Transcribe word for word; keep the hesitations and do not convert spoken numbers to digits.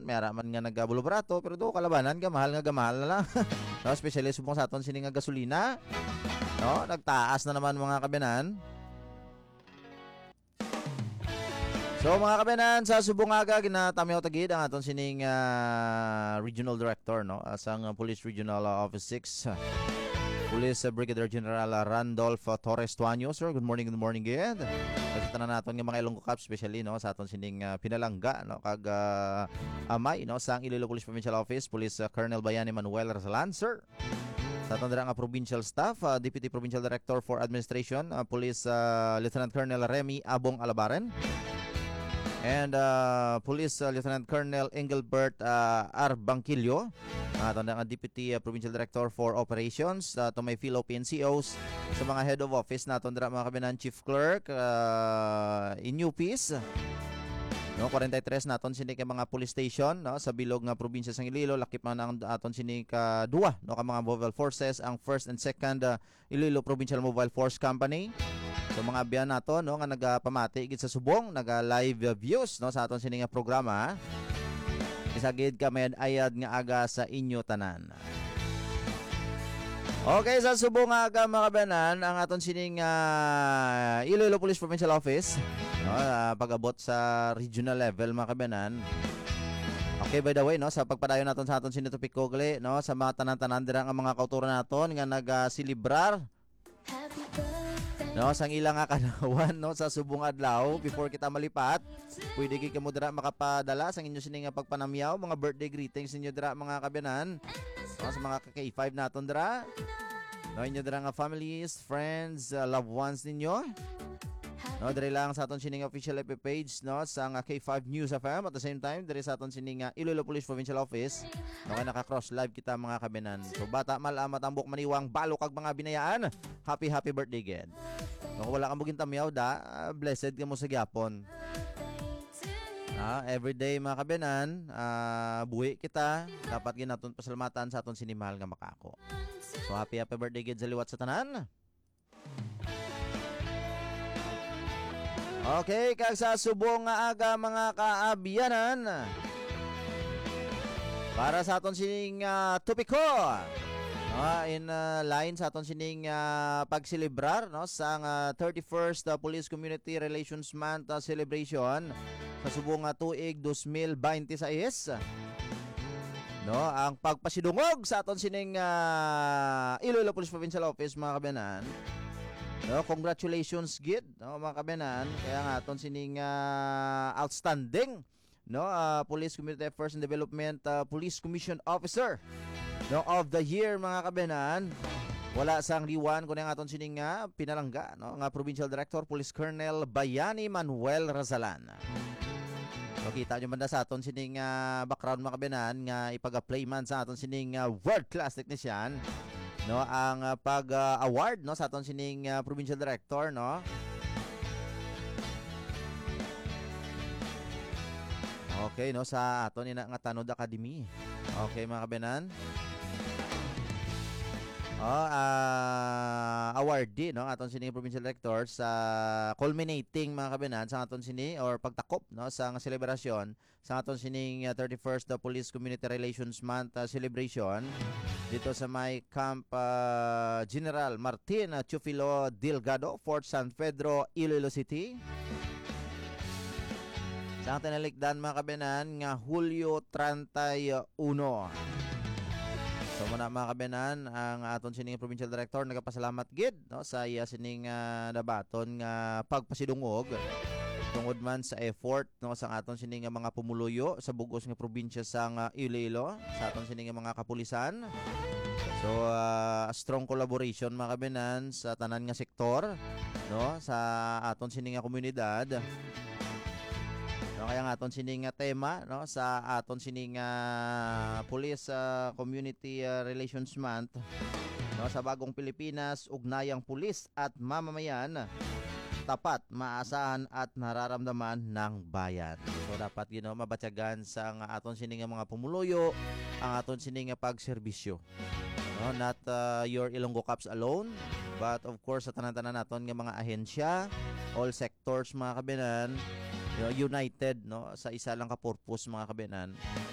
may ara man nga nagabulubarato, pero do kalabanan, gamahal nga gamahal na lang. No, especially subong sa aton sini nga gasolina. No, nagtaas na naman, mga kabiyanan. So, mga kabiyanan, sa subong nga aga, ginatamyaw ta gid ang aton sining, ah, regional director, no? Ah, sang, ah, Police Regional, ah, Office six, ah, Police, ah, Brigadier General, ah, Randolph, ah, Torres Tuaño. Sir, good morning, good morning gid. Sa tanan naton nga mga Ilonggo Cops, especially, no, sa aton sining, ah, pinalangga, no, kag, ah, amay, no, sang Iloilo Police Provincial Office, Police, ah, Colonel Bayani Manuel Razalan, sir. Sa aton dira nga provincial staff, ah, Deputy Provincial Director for Administration, ah, Police, ah, Lieutenant Colonel Remy Abong Alabaren, and, ah, Police, ah, Lieutenant Colonel Engelbert, ah, Arbangquillo, ah, aton dira nga Deputy, ah, Provincial Director for Operations, ah, to my fellow P N C Os, sa mga head of office naton dira, mga kabiyanan, Chief Clerk, ah, N U Ps, no, forty-three naton sini ka mga police station, no, sa bilog nga probinsya sang Iloilo, lakip man ang aton sini ka duwa, no, ka mga mobile forces, ang first and second, ah, Iloilo Provincial Mobile Force Company. So, mga abyan nato, no, nga nagapamati gid sa subong, naga live views, no, sa aton sini nga programa. Isa gid ka may ayad nga aga sa inyo tanan. Okay, sa subong nga aga, mga kabiyanan, ang aton sining, ah, Iloilo Police Provincial Office, no, ah, pag-abot sa regional level, mga kabiyanan. Okay, by the way, no, sa pagpadayon naton sa aton sini topiko gali, no, sa mga tanan-tanan dira nga mga kauturan naton nga nag, ah, selebrar, no, sang ila nga kanawan, no, sa subong adlaw, before kita malipat, pwede gid kamo dira makapadala sang inyo sini nga pagpanamyaw, mga birthday greetings ninyo dira, mga kabiyanan. No, sa mga ka K five naton dira. No, inyo dira nga families, friends, uh, loved ones ninyo. No, diri lang sa aton sining official F B page, no, sa nga K five News F M. At the same time, diri sa aton sining, uh, Iloilo Police Provincial Office. No, kay naka-cross live kita, mga kabiyanan. So, bata, mal, ah, matambok, maniwang, balo kag mga binayaan. Happy, happy birthday, gid. No, kung wala ka mo gintamyaw, da, ah, blessed ka mo sa gyapon. Ah, everyday, mga kabiyanan, ah, buhi kita. Dapat gid naton pasalamatan sa aton sini mahal nga makako. So, happy, happy birthday gid sa liwat sa tanan. Okay, kag sa subong nga aga, mga kaabyanan, para sa aton sining, ah, topiko, ah, in, ah, line sa aton sining, ah, pagselebrar, no, sa nga thirty-first, ah, Police Community Relations Month, ah, celebration sa subong nga tuig dos mil binte sais. No, ang pagpasidungog sa aton sining, ah, Iloilo Police Provincial Office, mga kabiyanan. No, congratulations gid, no, mga kabiyanan. Kaya nga aton sining, ah, outstanding, no, ah, Police Community Affairs and Development, ah, Police Commission Officer, no, of the Year, mga kabiyanan. Wala sang liwan kundi ang aton sining nga pinalangga, no, nga Provincial Director, Police Colonel Bayani Manuel Razalan. Makita nyo man na sa aton sining, ah, background, mga kabiyanan, nga ipag-play man sa aton sining, ah, world class technician, no, ang, ah, pag, ah, award, no, sa aton sining, ah, provincial director, no. Okay, no, sa aton ina nga Tanod Academy. Okay, mga kabiyanan. Oh, ah, awardee, no, aton sining provincial director sa culminating, mga kabiyanan, sa aton sini or pagtakop, no, sa nga selebrasyon sa aton sining, ah, thirty-first Police Community Relations Month, ah, celebration dito sa may Camp, ah, General Martin, ah, Teofilo Delgado, Fort San Pedro, Iloilo City. Sa tinalikdan, mga kabiyanan, nga Hulyo treinta y uno. So, muna, mga kabiyanan, ang aton sining provincial director nagapasalamat gid, no, sa iya sining, ah, nabaton nga pagpasidungog tungod man sa effort, no, sa aton sining nga mga pumuluyo sa bug-os nga probinsya sang Iloilo, sa aton sining nga mga kapulisan. So, ah, strong collaboration, mga kabiyanan, sa tanan nga sektor, no, sa aton sining nga komunidad. No, kaya nga aton sining nga tema, no, sa aton sining nga Police, ah, Community, ah, Relations Month, no, sa bagong Pilipinas, ugnayang pulis at mamamayan, tapat, maasahan at nararamdaman ng bayan. So, dapat, you know, mabatyagan sa nga aton sining nga mga pumuluyo ang aton sining nga pagserbisyo. No, not, uh, your Ilonggo Cops alone, but of course sa tanan-tanan naton nga mga ahensya, all sectors, mga kabiyanan, you know, united, no, sa isa lang ka purpose, mga kabiyanan.